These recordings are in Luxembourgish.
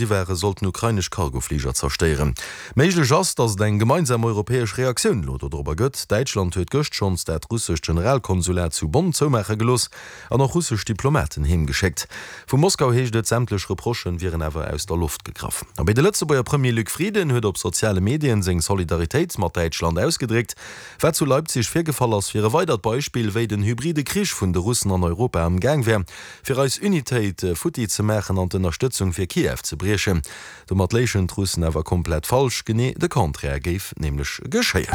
Si ware sollten ukrainesch Cargofliger zerstéieren. Méiglech ass, datt et eng gemeinsam europäesch Reaktioun elo dodrobber gëtt. Däitschland huet gëscht schonns dat russescht Generalkonsulat zu Bonn zoumaache gelooss an och russesch Diplomaten heem geschéckt. Vu Moskau heescht et, sämtlech Reprochen wieren awer aus der Loft gegraff. Abee de Lëtzebuerger Premier Luc Frieden huet op soziale Medien seng Solidaritéit mat Däitschland ausgedréckt. Wat zu Leipzig virgefall ass, wier e weidert Beispill, wéi den hybride Krich vun de Russen an Europa am Gaang wär. Fir eis Unitéit futti ze maachen an d'Ënnerstëtzung fir Kiew ze briechen. Domat léichen d'Russen awer komplett falsch, genee de Contraire géif nämlech geschéien.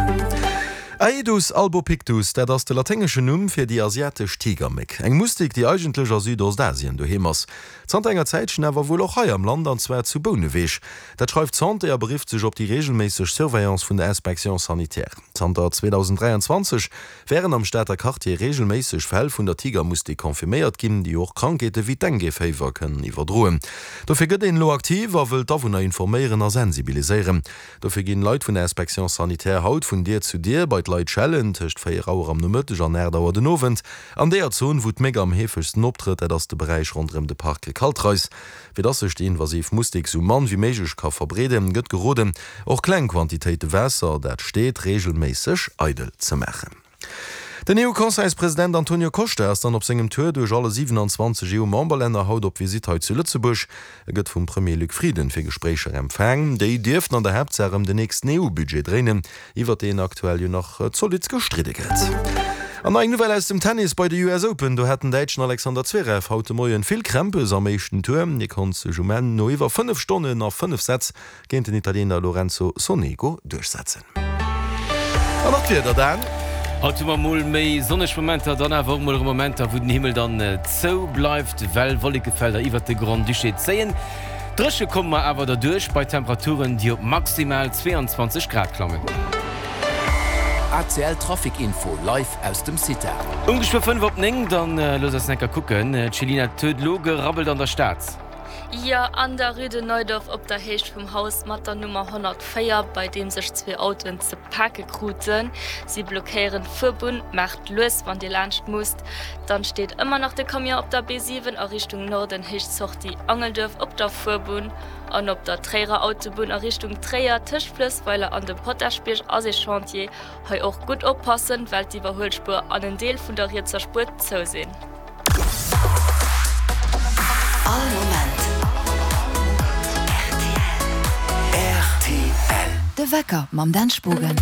Aedus albopictus, dat ass de laténgeschen Numm fir déi asiatesch Tigerméck. Eng Mustik, déi eigentlech a Südostasien doheem ass. Zanter enger Zäitchen awer wuel och hei am Land, an zwar zu Bouneweg. Dat schreift d'Santé a berifft sech op déi reegelméisseg Surveillance vun der Inspection sanitaire. Zanter 2023 Wären am Stater Quartier reegelméisseg Fäll vun der Tigermustik confirméiert ginn, déi och Krankheete wéi d'Dengue-Féiwer kënnen iwwerdroen. Dofir gëtt een elo aktiv a wëll d'Awunner informéieren a sensibiliséieren. Dofir ginn Leit vun der Inspection sanitaire haut vun Dier zu Dier bei d'Leit schellen, tëscht 4 Auer am Nomëtteg an 8 Auer den Owend. An deeër Zon, wou d'Méck am heefegsten optrëtt, dat ass de Beräich ronderëm de Parc Kaltreis. Fir dass sech déi invasiv Mustik sou mann wéi méiglech ka verbreeden, gëtt geroden, och kleng Quantitéite Waasser, dat steet, reegelméisseg eidel ze maachen. Den EU-Conseilspresident Antonio Costa ass dann op sengem Tour duerch alle 27 EU-Memberlänner haut op Visitt hei zu Lëtzebuerg. E gëtt vum Premier Luc Frieden fir Gespréicher empfaang. Déi dierften an der Haaptsaach ëm den nächsten EU-Budget dréinen, iwwert deen aktuell jo nach zolidd gestridde gëtt. An nach eng Nouvelle aus dem Tennis, Bei de US Open, do hat den Däitschen Alexander Zverev haut de Moien vill Krämpes am éischten Tour. Hie konnt sech um Enn no iwwer 5 Stonnen a 5 Sätz géint den Italiener Lorenzo Sonego duerchsetzen. An nach d'Wieder, Dan. Haut hu mer mol méi sonneg Momenter, dann awer och mol erëm Momenter, wou den Himmel dann zou bleift, well Wollekefelder iwwert de Grand-Duché zéien. Dréche komme mer awer derduerch bei Temperaturen, déi op maximal 22 Grad klammen. ACL Trafic Info live aus dem CITA. Um geschwë 5 op 9, dann looss eis enker kucken. D'Chelina, et huet elo gerabbelt an der Stad. Jo, an der Rue de Neudorf op der Héicht vum Haus mat der Nummer 104, bei deem sech zwee Autoen ze pake kruten. Si blockéieren d'Fuerbunn. Maacht lues, wann Dir laanscht musst. Dann steet ëmmer nach de Camion op der B7 a Richtung Norden, Héicht Sortie Angelduerf op der Fuerbunn an op der Tréierer Autobunn a Richtung Tréier tëscht Fluessweiler an dem Potaschbierg ass ee Chantier. Hei och gutt oppassen, well d'Iwwerhuelspuer an en Deel vun der rietser Spuer zou sinn. All Moment rtl. De Wecker mam Dan Spogen.